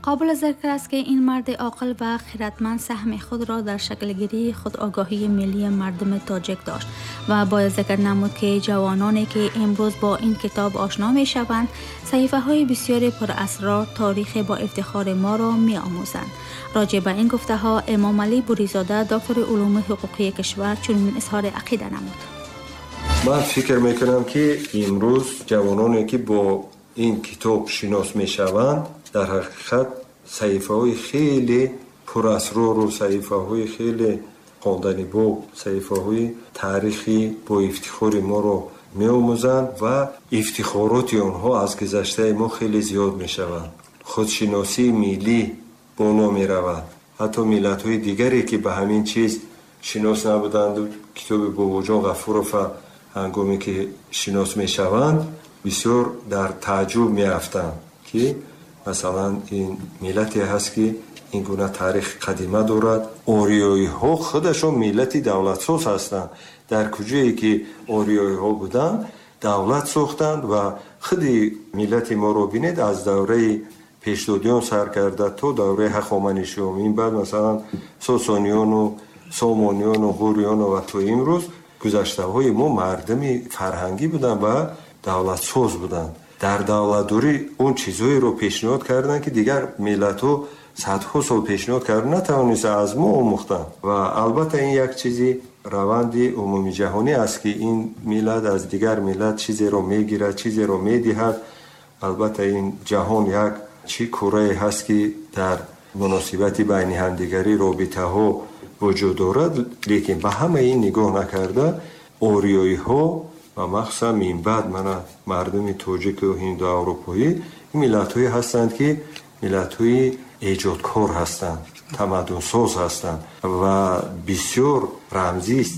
قابل ذکر است که این مرد عاقل و خردمند سهم خود را در شکلگیری خودآگاهی ملی مردم تاجیک داشت و باید ذکر نمود که جوانانی که امروز با این کتاب آشنا می شوند صحیفه های بسیار پراسرار تاریخ با افتخار ما را می آموزند. راجع به این گفته ها امام علی بوریزاده، دکتر علوم حقوقی کشور، چنین اظهار عقیده نمود: من فکر میکنم که امروز جوانانی که با این کتاب شناس میشوند، در حقیقت саҳифаҳои хеле пурасрору саҳифаҳои хеле хонданибоб, саҳифаҳои таърихи бо ифтихори моро меомӯзанд ва ифтихороти онҳо аз гузаштаи мо хеле зиёд мешаванд. Худшиносии миллӣ боло меравад. Ҳатто миллатҳои дигаре, ки ба ҳамин чиз шинос набуданду, китоби Бобоҷон Ғафурова ҳангоме ки шинос мешаванд, бисёр дар тааҷҷуб меафтанд, ки масалан ин миллате ҳаст, ки ин гуна таърихи қадима дорад. Ориёиҳо худашон миллати давлатсоз ҳастанд. Дар куҷое ки ориёиҳо буданд, давлат сохтанд. Ва худи миллати моро бинед, аз давраи пешдодиён сар карда то давраи Ҳахоманишиён, ин баъд масалан Сосониёну Сомониёну Ғуриёну ва то имрӯз гузаштаҳои мо мардуми фарҳангӣ буданд ва давлатсоз буданд. Дар давлатдорӣ он чизҳоеро пешниҳод карданд, ки дигар миллатҳо садҳо сол пешниҳод карда натавониста, аз мо омӯхтанд. Ва албатта ин як чизи раванди умумиҷаҳонӣ аст, ки ин миллат аз дигар миллат чизеро мегирад, чизеро медиҳад. Албатта ин ҷаҳон як чӣ курае ҳаст, ки дар муносибати байни ҳамдигарӣ робитаҳо вуҷуд дорад. Лекин ба ҳамаи ин нигоҳ накарда, ориёиҳо ва махсусан минбаъд мана мардуми тоҷику ҳиндуаврупоӣ миллатҳое ҳастанд, ки миллатҳои эҷодкор ҳастанд, тамаддунсоз ҳастанд ва бисёр рамзист.